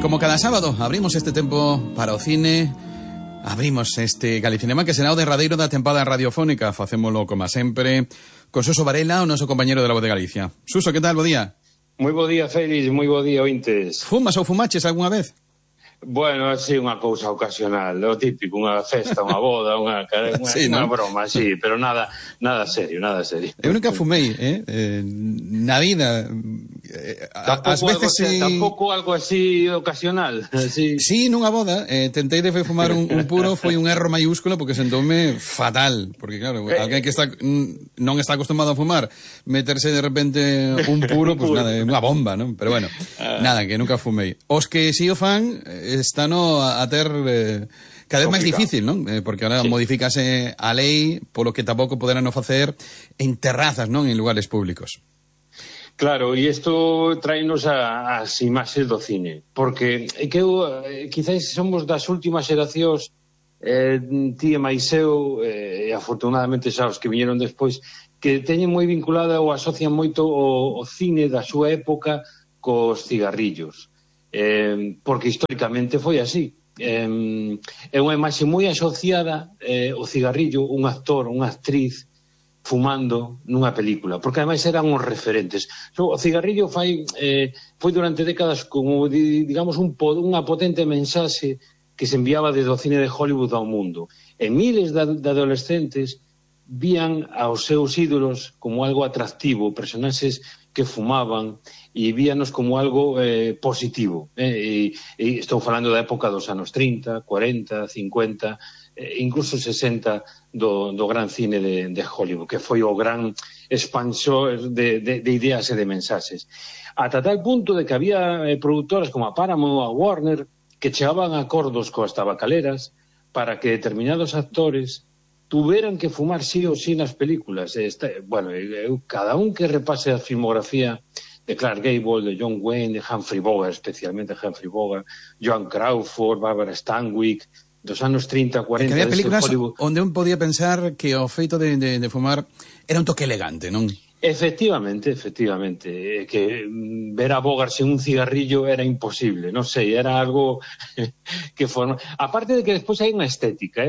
Como cada sábado abrimos este tempo para o cine, abrimos este Galicinema que será o derradeiro da tempada radiofónica. Facémolo como sempre con Suso Varela, o noso compañero de La Voz de Galicia. Suso, que tal? Bo día. Moi bo día, Félix, moi bo día, ointes. Fumas ou fumaches algunha vez? Bueno, así unha cousa ocasional, o típico, unha festa, unha boda, unha sí, ¿no? broma, sí, pero nada serio, nada serio. Eu nunca fumei, na vida. Ás veces tampouco algo así ocasional, así. Sí, nunha boda, tentei de fumar un puro, foi un erro maiúsculo porque sentoume fatal, porque claro, alguén que non está acostumado a fumar, meterse de repente un puro, pues nada, é unha bomba, non? Pero bueno, nada, que nunca fumei. Os que si o fan están a ter cada vez máis difícil, non? Porque ahora modifícase a lei polo que tampouco poderán facer en terrazas, non? En lugares públicos. Claro, e isto traenos as imaxes do cine, porque que quizáis somos das últimas xeracións, ti e máis eu, e afortunadamente xa os que viñeron despois, que teñen moi vinculada ou asocian moito o cine da súa época cos cigarrillos. Porque históricamente foi así. É unha imaxe moi asociada o cigarrillo, un actor, unha actriz fumando nunha película, porque ademais eran os referentes. O cigarrillo foi durante décadas como, digamos, unha potente mensaxe que se enviaba desde o cine de Hollywood ao mundo. E miles de adolescentes vían aos seus ídolos como algo atractivo, personaxes que fumaban, e víanos como algo positivo. E estou falando da época dos anos 30, 40, 50, incluso 60 do gran cine de Hollywood, que foi o gran expansor de ideas e de mensaxes. Ata tal punto de que había produtoras como a Paramount ou a Warner que chegaban a acordos coas tabacaleras para que determinados actores tuveran que fumar sí ou sí nas películas. Bueno, cada un que repase a filmografía de Clark Gable, de John Wayne, de Humphrey Bogart, especialmente Humphrey Bogart, Joan Crawford, Barbara Stanwyck, dos anos 30, 40... Que había películas onde un podía pensar que o feito de fumar era un toque elegante, non? Efectivamente, que ver a Bogart sen un cigarrillo era imposible, non sei, era algo que forma... Aparte de que despois hai unha estética,